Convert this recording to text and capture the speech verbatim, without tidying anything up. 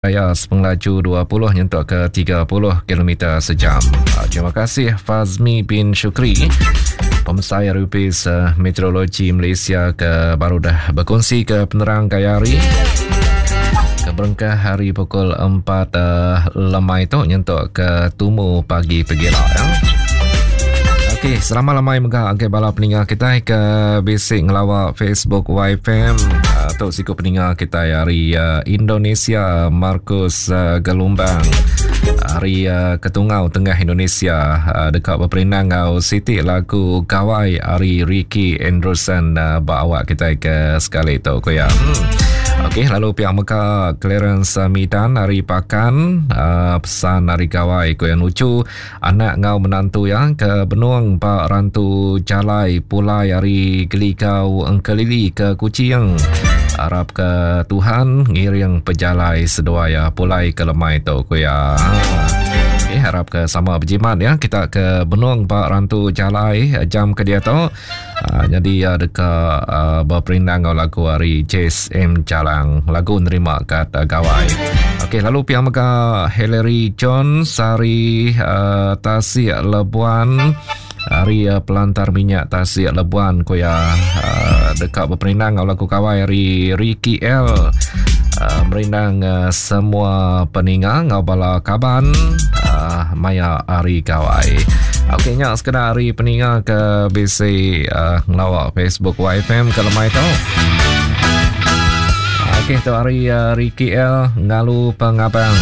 Raya sepengelaju dua puluh nyentuk ke tiga puluh kilometer sejam. Terima kasih Fazmi bin Shukri, Pemesai R U P S Meteorologi Malaysia ke baru dah berkongsi ke penerang gaya hari. Keberengkah hari pukul empat, uh, lemai tu nyentuk ke tumu pagi pegila. Ya. Okey, selamat lemai mega ke bala peninga kita ke bisi ngelawak Facebook Y F M. Uh, tu siku peninga kita hari, uh, Indonesia, Markus, uh, Gelumbang. Hari, uh, Ketungau Tengah Indonesia, uh, dekat berperindang ngau Siti lagu Gawai hari Ricky Anderson, uh, bawa kita ke sekali tu ko ya. Hmm. Okey, lalu pihak Mekah Clarence Midan hari Pakan, uh, pesan hari Gawai ko yang lucu anak ngau menantu yang ke Benung Pak Rantu Jalai Pulai hari Geligau Engkelili ke Kuching. Harap ke Tuhan ngiring pejalai seduaya pulai ke lemai tu ko ya. Okey, harap ke sama berjimat ya kita ke Benung Pak Rantu Jalai jam ke dia tu. Uh, jadi uh, dekat, uh, berperindang ngau lagu hari Jace M Jalang lagu nerima kat, uh, Gawai. Okey, lalu pihak mega Hillary John Sari, uh, Tasik Lebuan hari, uh, pelantar minyak Tasik Lebuan koya, uh, dekat berperindang ngau lagu Gawai hari Ricky L. Uh, merindang, uh, semua peninga ngau bala kaban, uh, maya hari Gawai. Okey, nyak sekedar hari peninga ke B C, uh, ngelawak Facebook Y F M ke lemai tu. Okey, tu hari, uh, Ricky L ngalu pengabang.